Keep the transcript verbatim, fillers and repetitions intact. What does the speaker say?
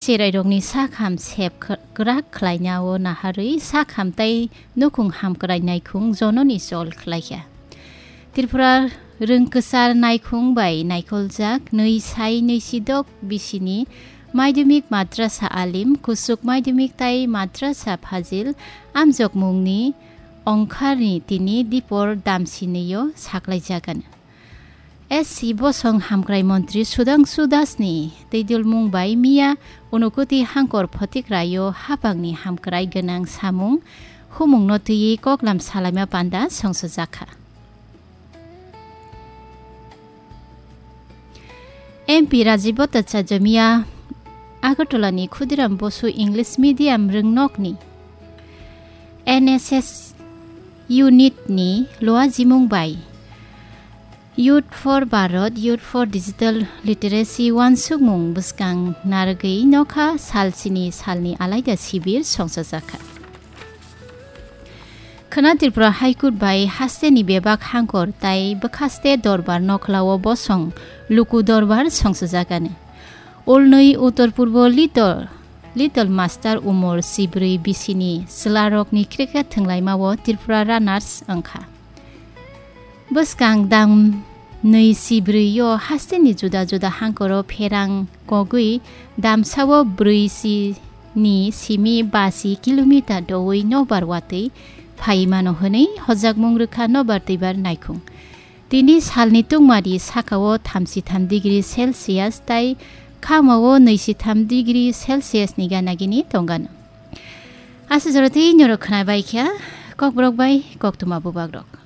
Cherairokni sakham sep kh-, kwrak khlainao naharwi sakham tei nukhung hamkrai naikhung jononi chol khlaikha. Tripura rwngkwchar naikhung bai naikholjak nwi sai nwi sidok bisini Madhyamik Madrasa Alim, Kuchuk Madhyamik tai Madrasa Fazil amjokmungni ongkharni tini dipor damsinio saklaijagano. S C bosong hamkrai montri Sudhangshu Dasni twidulmung bai miya Unokoti hangkor Photikraio hapangni hamkrai gwnang samung humungno twiwi koklam salaima panda songsojakha. M P Rajiv Bhattacharya miya Agartala ni Khudiram Bosu English Medium rwngnokni N S S unit ni luajimung bai Youth for Bharat, Youth for Digital Literacy wansukmung bwskang narwgwi nokha salsini salni alaida sibir songsojakha. Khwna Tripura High Court bai hasteni bebak hangkor tai bwkhaste dorbar nokhlao bosong luku dorbar songsojakani. Ulnwi Uttor Purbo Little, Little Master umor sibrwi bisini chwlarokni cricket thwnglaimao Tripura runners wngkha. Bwskang dam nwi sibrwi o hasteni juda juda hangkoro pherang kogwi damsao brwi si ni simi basi kilometer doui nobar watwi phai mano hwnwi hojakmung rwkha nobar twibar naikhung. Tini salni tungmari sakao thamsi tham degree Celsius tai khamao nwi si tham degree Celsius ni gana gini tongano. Aswk jora tei norok khwna bai kha kokborok bai koktwma bubagrok.